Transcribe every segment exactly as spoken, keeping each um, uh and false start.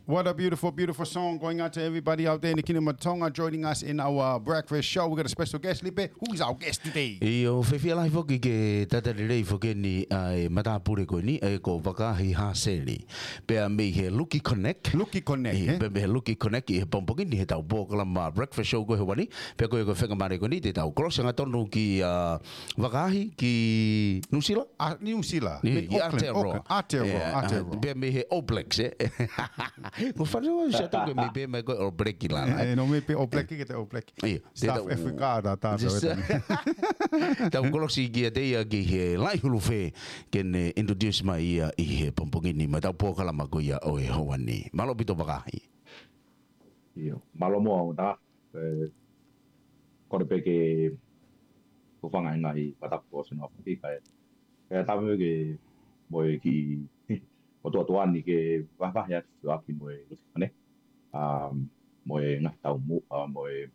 What a beautiful, beautiful song going out to everybody out there in the Kingdom of Tonga joining us in our breakfast show. We got a special guest, Lipe. Who is our guest today? ʻIo, fiefia lahi foki ke talitali lelei foki eni ʻa e matāpule ko eni, ʻa ia ko Vakaahi Haseli. Pea mei he Luki Connect. Luki Connect, ʻIo, eh? Pea mei he Luki Connect ʻi he pongipongi ni heʻetau polokalama breakfast show ko ē he ʻaho ni. Pea ko e, ko e faingamālie ko eni te tau kolosi angatonu kia Vakaahi ki Nuʻusila? ʻA, Nuʻusila. ʻIo, Mei ʻi Auckland, Aotearoa. Auckland, Aotearoa, ʻIo, ʻa, Aotearoa. Pea mei he All Blacks, eh? Ko e fale ʻo Siaʻatouke mei pē mai ko e All Black la, eh? Eh, no mei pē All Black ke te All Black. ʻIo, te South tau Africa, tā, tā, Just tā, tā. Tau kolosi kiate ia ki he laʻi hulu fē ke ne introduce mai ia ʻi he pongipongi ni mo ʻetau polokalama ko ia ʻo e ʻaho ni. Mālō ʻaupito Vakaahi. ʻIo, mālō muʻa ʻo tā, eh, kole pē ke hūfanga he ngaahi mataku ʻo Sino Afaki, kae, kae tapu ke mo e kiʻi, mo tuatuani ke vahevahe atu ʻaki mo e Luki Connect. Um, mo e ngaahi taumuʻa, mo e,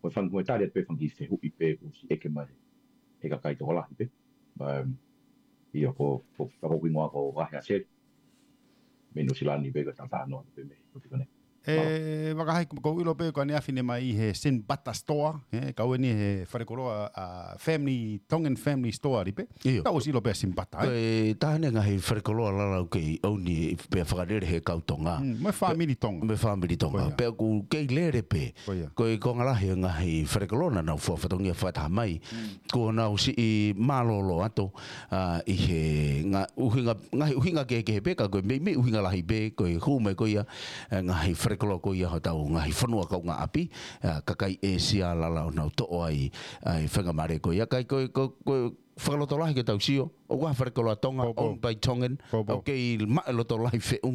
mo e fanga, mo e tali atu pē fanga kiʻi fehuʻi pē kuo ʻosi ʻeke mai he kakai tokolahi pē. Um, ʻIo, ko, ko, ko hoku hingoa ko Vakaahi Haseli. Mei Nuʻusila ni pē ko e talanoa pē mei Luki Connect. Mālō. E, Vakaahi, ʻoku ou ʻilo pē ko ʻaneafi ne mai ʻi he Sinbata Store, eh, kau eni he falekoloa, ʻa, Family, Tongan Family Store, Lipe. ʻIo. Kau ʻosi ʻilo pē Sinbata, eh? Ko e taha eni e ngaahi falekoloa lalahi ʻoku kei ʻouni pea fakalele he kau Tonga. Mm, mo e fāmili Tonga. Mo e fāmili Tonga. Ko ia. Pea ʻoku kei lele pē. Ko ia. Ko e konga lahi e ngaahi falekoloa naʻa nau fua fatongia fakataha mai. Mm. Kuo nau siʻi mālōlō atu, ʻa, ʻi he ngaahi ʻuhinga, ngaahi ʻuhinga kehekehe pē, ka ko e meimei ʻuhinga lahi pē, ko e hū mai ko ia, ʻa e ngaahi falekoloa ko ia hotau ngaahi fonua kaungāʻapi, ʻa, kakai ʻĒsia lalahi ʻoku nau toʻo ai, ʻa e faingamālie ko ia. Kae ko e, ko, ko e fakalotolahi ke tau sio, ʻoku ʻi ai ha falekoloa Tonga, Ko, ko. Owned by Tongan, Ko, ko. ʻOku kei maʻu e loto lahi feʻunga